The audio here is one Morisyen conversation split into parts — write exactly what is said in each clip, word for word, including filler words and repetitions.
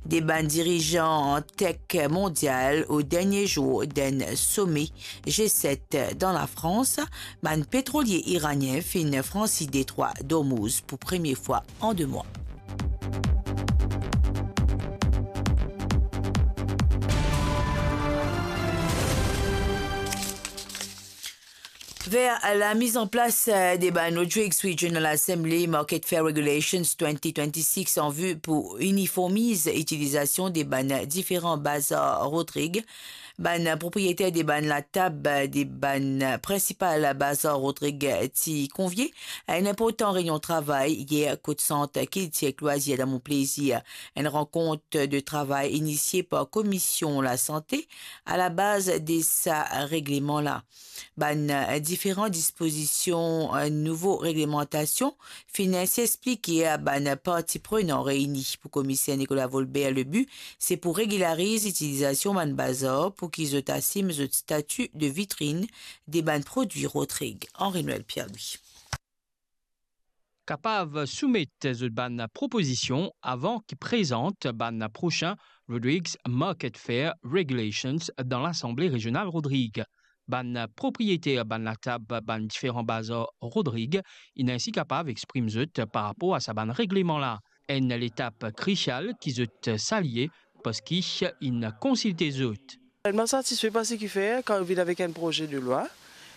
De bann dirizan tech mondial o dernie zour d'enn some G set dan Lafrans, bann petrolie iranien finn fransi detrwa d'Ormouz pou premie fwa an de mwa. Ver la miz an plas, eh, de bann Rodrigues Regional Assembly Market Fair Regulations twenty twenty-six an vi pou iniformiz itilizasion de bann diferan bazar Rodrig, bann propriyeter de bann latab de bann prinsipal bazar Rodrig ti konvie a enn inportan reynion travay yer kot Sant Kiltir ek Lwazir dan Mont Plaisir, enn rankont de travay inisie par Komisyon Lasante a la baz de sa regleman la. Bann, eh, diferan dispozision, eh, nouvo reglemantasion finn inn explike a bann parti prenan reini. Pou Komiser Nicolas Volbert, le bi, se pou regilariz itilizasion bann bazar pou ki zot asim zot stati de vitrinn de bann prodwi Rodrig. Henri Noël Pierre-Louis. Kapav soumet zot bann propozision avan ki prezant bann prosin Rodrigues Market Fair Regulations dan Lasanble Rezional Rodrig. Bann propriyeter bann latab bann diferan bazar Rodrig inn ainsi kapav exprim zot par rapor a sa bann regleman la. Enn letap krisial ki zot salie, parski inn konsilte zot. Mo satisfe par seki fer, kan nou vinn avek enn proze de lwa,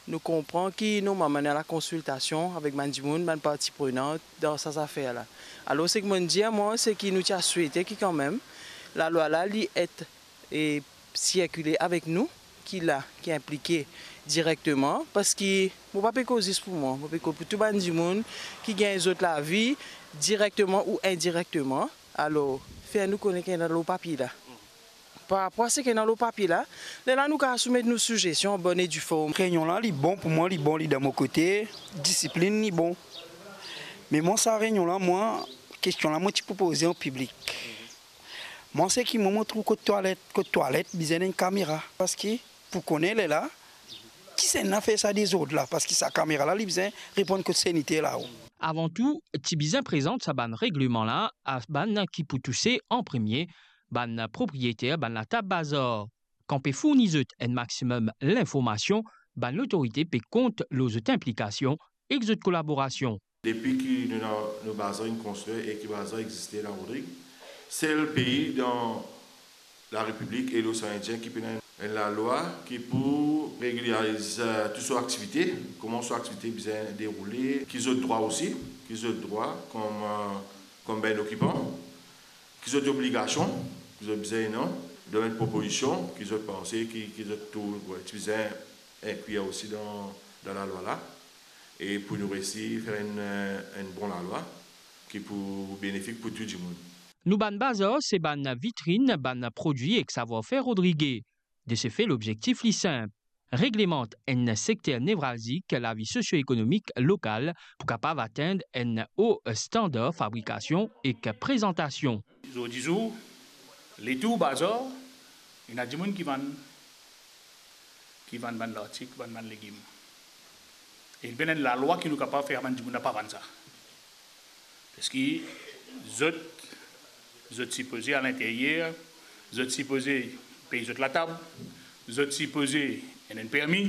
nou konpran ki normalman ena lakonsiltasion avek bann dimoun, bann parti prenan dan sa zafer la. Alor, seki mo dir, mwa, seki nou ti a swete ki kanmem, lalwa la, li et, e, sirkile avek nou, ki la, ki inplike direkteman, parski mo pa pe koz zis pou mwa, mo pe koz pou tou bann dimoun ki gagn zot lavi direkteman ou indirekteman. Alor, fer nou kone ki ena lor papie la. Par rapor a seki ena lor papie la, lerla nou kapav soumet nou sizesion an bonn e di form. Reynion la, li bon pou mwa, li bon, li dan mo kote, disiplinn, li bon. Me mwa, sa reynion la, mwa, kestion la, mo ti pou poze an piblik. Mwa, seki mwa, mo trouv kot twalet, kot twalet, bizin enn kamera. Parski, pou kone lerla, kisannla fer sa dezord la, parski sa kamera la, li bizin reponn kot saniter la, o. Avan tou, ti bizin prezant sa bann regleman la a bann ki pou touse an premie, bann propriyeter bann latab bazar. Kan pe fourni zot enn maximum linformasion, bann lotorite pe kont lor zot inplikasion ek zot kolaborasion. Depi ki nou, nou, nou bazar inn konstrir e ki bazar existe dan Rodrig, sel pei dan Larepiblik e Losean Indien ki pena enn lalwa ki pou regilariz, eh, tou so aktivite, kouma so aktivite bizin deroule, ki zot drwa osi, ki zot drwa kom, eh, kom bann okipan, ki zot obligasion, ki zot bizin, non, donn enn propozision, ki zot panse, ki, ki zot trouv, wi, ti bizin inklir osi dan, dan lalwa la, e pou nou resi fer enn, eh, enn bon lalwa ki pou benefik pou tou dimoun. Nou bann bazar se bann vitrinn bann prodwi ek savwar-fer rodrige. De se fe, lobzektif li sinp, reglemant enn sekter nevralzik lavi sosio-ekonomik lokal pou kapav atenn enn o standar fabrikasion ek prezantasion. Zordi zour, letour bazar, ena dimoun ki vann, ki vann bann lartik, vann bann legim. E li pena enn lalwa ki nou kapav fer bann dimoun la pa vann sa. Parski zot, zot sipoze al interyer, zot sipoze pey zot latab, zot sipoze ena enn permi,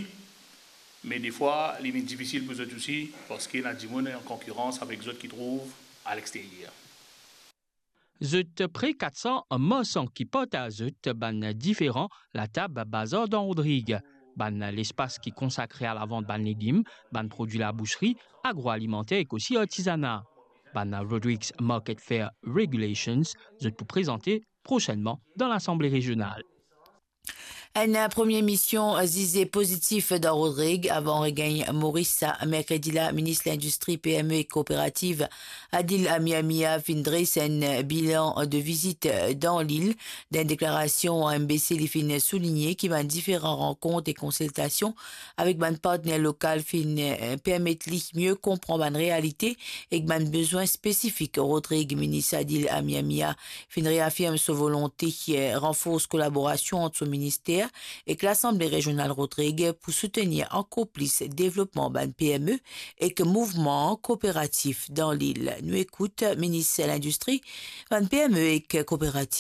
me defwa li vinn difisil pou zot osi, parski ena dimoun an konkirans avek zot ki trouv alexteryer. Zot pre kat san marsan ki partaz zot bann diferan latab bazar dan Rodrig, bann lespas ki konsakre a lavant bann legim, bann prodwi labousri, agroalimanter ek osi artizana. Bann Rodrigues Market Fair Regulations, zot pou prezante prosennman dan Lasanble Rezional. Enn premie mision zize pozitif dan Rodrig avan regagn Moris sa merkredi la. Minis Lindistri, P M E ek Kooperativ, Adil Amia Mia, finn dres enn bilan de vizit dan lil. Dan enn deklarasion a M B C, li finn souligne ki bann diferan rankont e konsiltasion avek bann partner lokal finn, eh, permet li mie konpran bann realite ek bann bezwin spesifik Rodrig. Minis Adil Amia Mia finn reafirm so volonte, eh, ranfors kolaborasion ant so minister ek Lasanble Rezional Rodrig pou soutenir ankor plis devlopman bann P M E ek mouvman kooperatif dan lil. Nou ekout Minis Lindistri, bann P M E ek kooperativ,